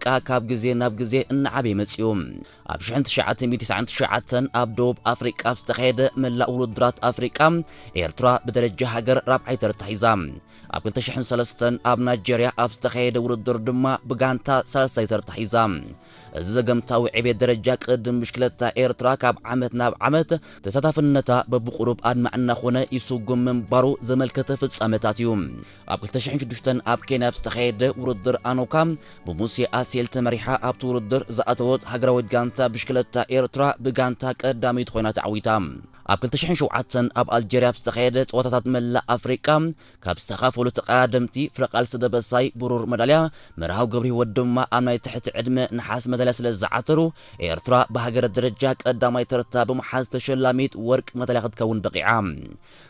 ኣፍሪቃ ካብ ግዜ ናብ ግዜ እናዓበየ መጺኡ። ኣብ ሽሕን ትሽዓተ ሚእትን ተስዓን ትሽዓተን ኣብ ደቡብ ኣፍሪቃ ኣብ ዝተኻየደ መላእ ውድድራት ኣፍሪቃ፣ ኤርትራ ብደረጃ ሃገር ራብዓይ ተርታ ሒዛ። ኣብ ክልተ ሽሕን ሰለስተን ኣብ ናይጀርያ ኣብ ዝተኻየደ ውድድር ድማ ብጋንታ ሳልሳይ ተርታ ሒዛ። እዚ ዘገምታዊ ዕቤት ደረጃ ቅድድም ብሽክለታ ኤርትራ ካብ ዓመት ናብ ዓመት ተሳታፍነታ በብቁሩብ ኣድማዕ እናኾነ ይስጉም ምንባሩ ዘመልከተ ፍጻመታት እዩ። ኣብ ክልተ ሽሕን ሽዱሽተን ኣብ ኬንያ ኣብ ዝተኻየደ ውድድር ኣኖካ ብሙሴ ኣሴል ተመሪሓ ኣብቲ ውድድር ዝኣተወት ሃገራዊት ጋንታ ብሽክለታ ኤርትራ ብጋንታ ቀዳመይቲ ኮይና ተዓዊታ። ኣብ ክልተ ሽሕን ሸውዓተን ኣብ ኣልጀርያ ኣብ ዝተኻየደ ጸወታታት መላእ ኣፍሪቃ ካብ ዝተኻፈሉ ተቐዳደምቲ ፍረቓልሲ ደበሳይ ብሩር መዳልያ፣ መርሃዊ ገብረህይወት ድማ ኣብ ናይ ትሕቲ ዕድመ ነሓስ መዳልያ ስለ ዝዓተሩ፣ ኤርትራ ብሃገር ደረጃ ቀዳማይ ተርታ ብምሓዝ ተሸላሚት ወርቂ መዳልያ ክትከውን በቒዓ።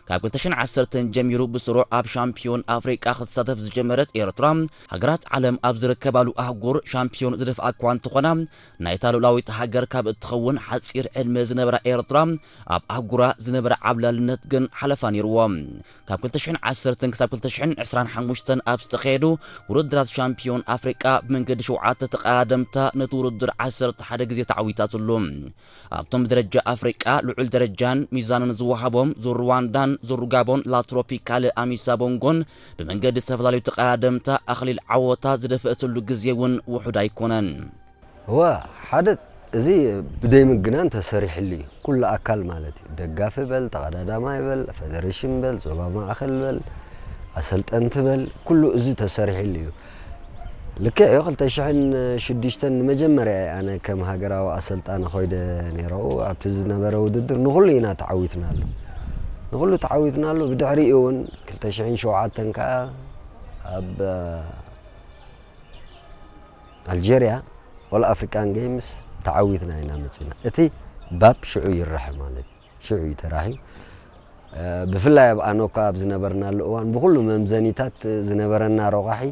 ካብ ክልተ ሽሕን ዓሰርተን ጀሚሩ ብስሩዕ ኣብ ሻምፒዮን ኣፍሪቃ ክትሳተፍ ዝጀመረት ኤርትራ፣ ሃገራት ዓለም ኣብ ዝርከባሉ ኣህጉር ሻምፒዮን ዝደፍኣ እኳ እንተኾና፣ ናይታ ልኡላዊት ሃገር ካብ እትኸውን ሓጺር ዕድመ ዝነበራ ኤርትራ፣ ኣብ ኣህጉራ ዝነበረ ዓብላልነት ግን ሓለፋ ነይርዎ። ካብ ክልተ ሽሕን ዓሰርተን ክሳብ ክልተ ሽሕን ዕስራን ሓሙሽተን ኣብ ዝተኻየዱ ውድድራት ሻምፒዮን ኣፍሪቃ ብመንገዲ ሸውዓተ ተቐዳደምታ ነቲ ውድድር ዓሰርተ ሓደ ግዜ ተዓዊታትሉ። ኣብቶም ብደረጃ ኣፍሪቃ ልዑል ደረጃን ሚዛንን ዝወሃቦም ዙር ሩዋንዳን ዙር ሩጋቦን ላትሮፒካል ኣሚሳ ቦንጎን ብመንገዲ ዝተፈላለዩ ተቐዳደምታ ኣኽሊል ዓወታ ዝደፈእትሉ ግዜ እውን ውሑድ ኣይኮነን። እወ፣ ሓደ፣ እዚ ብደይ ምግናን ተሰሪሕሉ እዩ። ኩሉ ኣካል ማለት እዩ። ደጋፊ በል፣ ተቐዳዳማይ በል፣ ፈደሬሽን በል፣ ዞባ ማእኸል በል፣ ኣሰልጠንቲ በል፣ ኩሉ እዚ ተሰሪሕሉ እዩ። ልክዕ እዩ። ክልተ ሽሕን ሽዱሽተን ንመጀመርያ እየ ኣነ ከም ሃገራዊ ኣሰልጣኒ ኮይደ ነይረው። ኣብቲ ዝነበረ ውድድር ንኹሉ ኢና ተዓዊትናሉ። ንኹሉ ተዓዊትናሉ። ብድሕሪኡ እውን ክልተ ሽሕን ሸውዓተን ከዓ ኣብ ኣልጀርያ ኦል ኣፍሪካን ጌምስ ተዓዊትና ኢና መፂና። እቲ ባብ ሽዑ ይራሕ ማለት እዩ። ሽዑ እዩ ተራሕዩ። ብፍላይ ኣብ ኣኖካ ኣብ ዝነበርናሉ እዋን ብኩሉ መምዘኒታት ዝነበረና ረቋሒ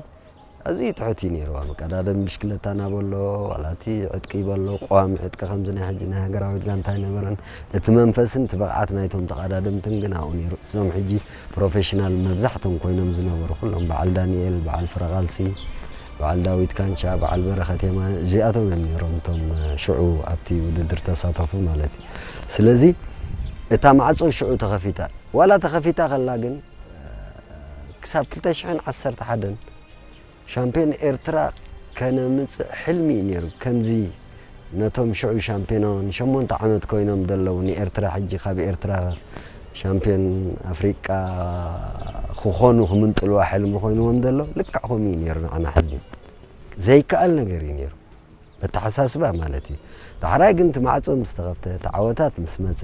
ኣዝዩ ትሑት እዩ ነይሩ። ኣብ መቀዳደም ብሽክለታና በሎ ዋላ እቲ ዕጥቂ በሎ ቀዋሚ ዕጥቂ ከምዚ ናይ ሕጂ ናይ ሃገራዊት ጋንታ ኣይነበረን። እቲ መንፈስን እቲ ብቕዓት ናይቶም ተቐዳደምትን ግን ኣብኡ ነይሩ። እዞም ሕጂ ፕሮፌሽናል መብዛሕቶም ኮይኖም ዝነበሩ ኩሎም በዓል ዳንኤል፣ በዓል ፍረቓልሲ፣ በዓል ዳዊት ካንቻ፣ በዓል በረኸት የማነ እዚኣቶም እዮም ነይሮም እቶም ሽዑ ኣብቲ ውድድር ተሳተፉ ማለት እዩ። ስለዚ እታ ማዕጾ ሽዑ ተኸፊታ። ዋላ ተኸፊታ ከላ ግን ክሳብ ክልተ ሽሕን ዓሰርተ ሓደን ሻምፒዮን ኤርትራ ከነምጽእ ሕልሚ እዩ ነይሩ። ከምዚ ነቶም ሽዑ ሻምፒዮን ሸሞንተ ዓመት ኮይኖም ዘለዉ ንኤርትራ ሕጂ ካብ ኤርትራ ሻምፒዮን ኣፍሪቃ ክኾኑ ክምንጥልዋ ሕልሚ ኮይንዎም ዘሎ ልክዕ ከምኡ እዩ ነይሩ ንዓና ሕልሚ። ዘይከኣል ነገር እዩ ነይሩ። ኣተሓሳስባ ማለት እዩ። ዳሕራይ ግን እቲ ማዕጾ ምስ ተኸፍተ፣ እቲ ዓወታት ምስ መጸ፣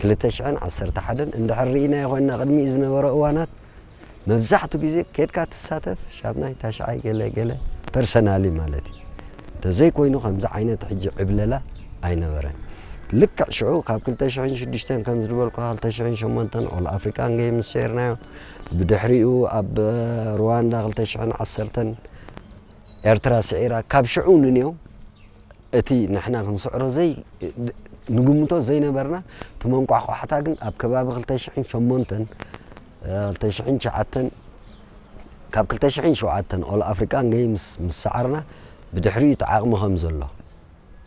ክልተ ሽሕን ዓሰርተ ሓደን እንድሕር ርኢናዮ ኮይንና ቅድሚኡ ዝነበረ እዋናት መብዛሕቱ ግዜ ኬድካ ትሳተፍ ሻብናይ ታሽዓይ ገለ ገለ ፐርሰናሊ ማለት እዩ። እንተዘይኮይኑ ከምዚ ዓይነት ሕጂ ዕብለላ ኣይነበረን። ልክዕ ሽዑ ካብ ክልተ ሽሕን ሽዱሽተን ከም ዝበልኩ ክልተ ሽሕን ሸሞንተን ኦል ኣፍሪካን ጌምስ ሰይርናዮ። ብድሕሪኡ ኣብ ሩዋንዳ ክልተ ሽሕን ዓሰርተን ኤርትራ ስዒራ ካብ ሽዑ ንንየው እቲ ንሕና ክንስዕሮ ዘይ ንግምቶ ዘይነበርና እቲ መንቋሕቋሕታ ግን ኣብ ከባቢ ክልተ ሽሕን ሸሞንተን ክልተ ሽሕን ትሽዓተን ካብ ክልተ ሽሕን ሸውዓተን ኦል ኣፍሪካን ጌምስ ምስ ሰዓርና ብድሕሪኡ እቲ ዓቕሚ ከም ዘሎ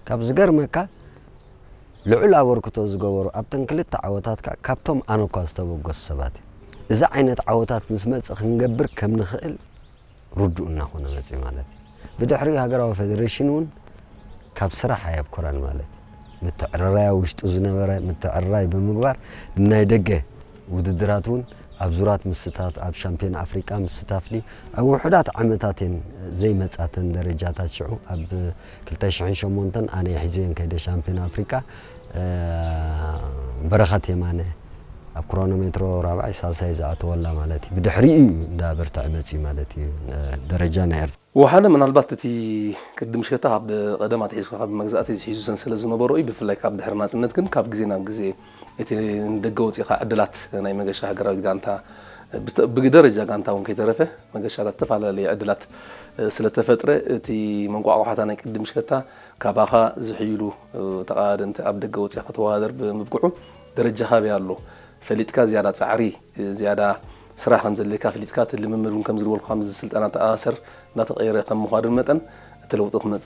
ካብ ዝገርመካ ልዑል ኣበርክቶ ዝገበሩ ኣብተን ክልተ ዓወታት ከዓ ካብቶም ኣነ እኳ ዝተበገሱ ሰባት እዩ። እዚ ዓይነት ዓወታት ምስ መጽእ ክንገብር ከም ንኽእል ርዱእ እናኾነ መጽእ ማለት እዩ። ብድሕሪኡ ሃገራዊ ፌደሬሽን እውን ካብ ስራሕ ኣየብኮረን ማለት እዩ። ምትዕርራይ ኣብ ውሽጡ ዝነበረ ምትዕርራይ ብምግባር ናይ ደገ ውድድራት እውን ኣብ ዙራት ምስታፍ ኣብ ሻምፒዮን ኣፍሪቃ ምስታፍ ድዩ ኣብ ውሑዳት ዓመታት እየን ዘይመጻተን ደረጃታት ሽዑ ኣብ ክልተ ሽሕን ሸሞንተን ኣነ ሒዘዮን ከይደ ሻምፒዮን ኣፍሪቃ በረኸት የማነ ኣብ ክሮኖሜትሮ ራብዓይ ሳልሳይ ዝኣተወላ ማለት እዩ። ብድሕሪኡ እዩ እንዳ በርትዐ መፅዩ ማለት እዩ ደረጃ ናይ ኤርትራ። ወሓለ ምናልባት እቲ ቅድም ሽከታ ካብ ቀደም ኣትሒዝካ ካብ መግዛእቲ ዝሒዙ ሰንሰለት ዝነበሮ እዩ። ብፍላይ ካብ ድሕሪ ናፅነት ግን ካብ ግዜ ናብ ግዜ እቲ ንደገ ወፂኻ ዕድላት ናይ መገሻ ሃገራዊት ጋንታ ብደረጃ ጋንታ እውን ከይተረፈ መገሻታት ዝተፈላለዩ ዕድላት ስለተፈጥረ እቲ መንቋቋሓታ ናይ ቅድም ሽከታ ካባኻ ዝሕይሉ ተቐዳደምቲ ኣብ ደገ ወፂኻ ከተወዳደር ብምብቅዑ ደረጃኻ ኣበይ ኣሎ ፈሊጥካ ዝያዳ ፃዕሪ ዝያዳ ስራሕ ከም ዘድልየካ ፈሊጥካ እቲ ልምምድ እውን ከም ዝበልኩ ከምዚ ስልጠና ተኣሳሰር እናተቐየረ ከም ምዃዱ መጠን እቲ ለውጢ ክመፅእ